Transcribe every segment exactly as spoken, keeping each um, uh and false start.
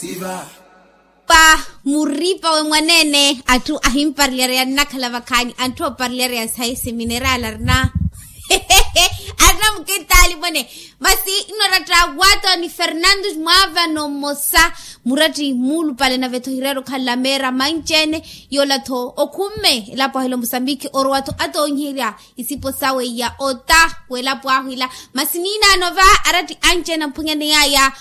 Siva. Pa muripa we mwaneene atthu ahimparelyareya nnakhala vakhaani anthu ooparelyareya sayi siminerali arina arina mukitaali mwene. Masi nnoratta wato ni fernandos mwaavano mmosa muratti muulupale nave-tho hireera okhala meera manci-ene. Yoola-tho okhumme elapo ahila omusambikhi orowa-tho atoonyiherya isipo sawe iya ota w'elapo ahu ila. Masi niinaano va aratti anci-ene amphwanyaneyaya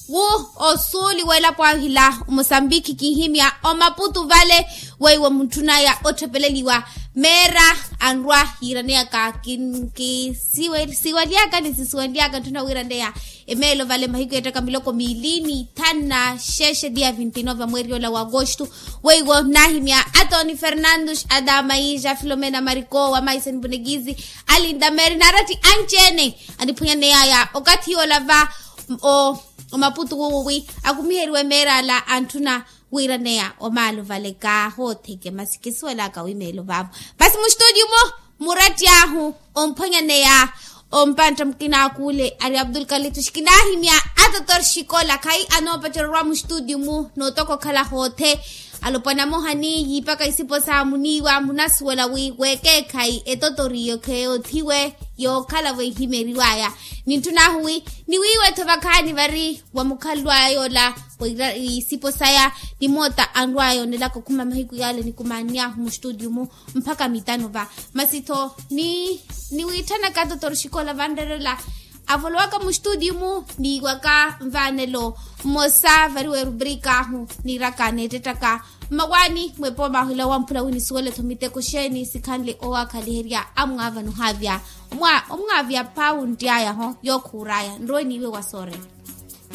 wu osuuli w'elapo ahu ila omosambikhi kinhimya omaputu vale weiwo muntthunaya otthepeleliwa meera anrwa yiiraneyaka kisiwaliyaka ni sisiwaliyaka ntthuna wiiraneya emeelo vale mahiku yeettaka miloko miili ni thanu na xexe dia vinti nove a mweeri ola wa agosto. Weiwo nnaahimya atoni fernandos adamaija filomena mariko wa maisen bunekizi alinda meeri naaratti anci-ene aniphwanyaneyaya okathi yoola va omaputu wuwo wi akumiheriwe meerala antthuna wiiraneya omaalo vale kaahootheke masi kisuwelaka wi meelo vaavo. Masi mustutiyu-mu muratti ahu omphwanyaneya ompantta mukina akule ari abdul kalitush kinaahimya atotor xikola khayi anoopacererwa mustutiyu-mu nootoka okhala hoothe alopwana amoha ni yiipaka isipo sa muniiwa munasuwela wi weekeekhayi etotoriyo kheyoothiwe yookhala vweehimeriwaya. Nintthunaahu wi niwiiwe-tho vakhaani vari wa mukhalwaya yoola isipo saya ni moota anrwaya onelaka okhuma mahiku yale nikumaanniyaahu mustutiyu-mu mpakha mitano va. Masi-tho niwiitthanaka atotor xikola vanreerela avolowaka mustutiyu-mu niiwaka nvaanelo mmosa vari weerubrikaahu niiraka neettettaka mmawaani mwepooma ahu ila wamphula wi nisuwele-tho miteko xeeni sikhanle owaakhaliherya amwaavano ohaavya omwaavya pawuntti aya-ho yookhuuraya nrowe niiwe wa soorela.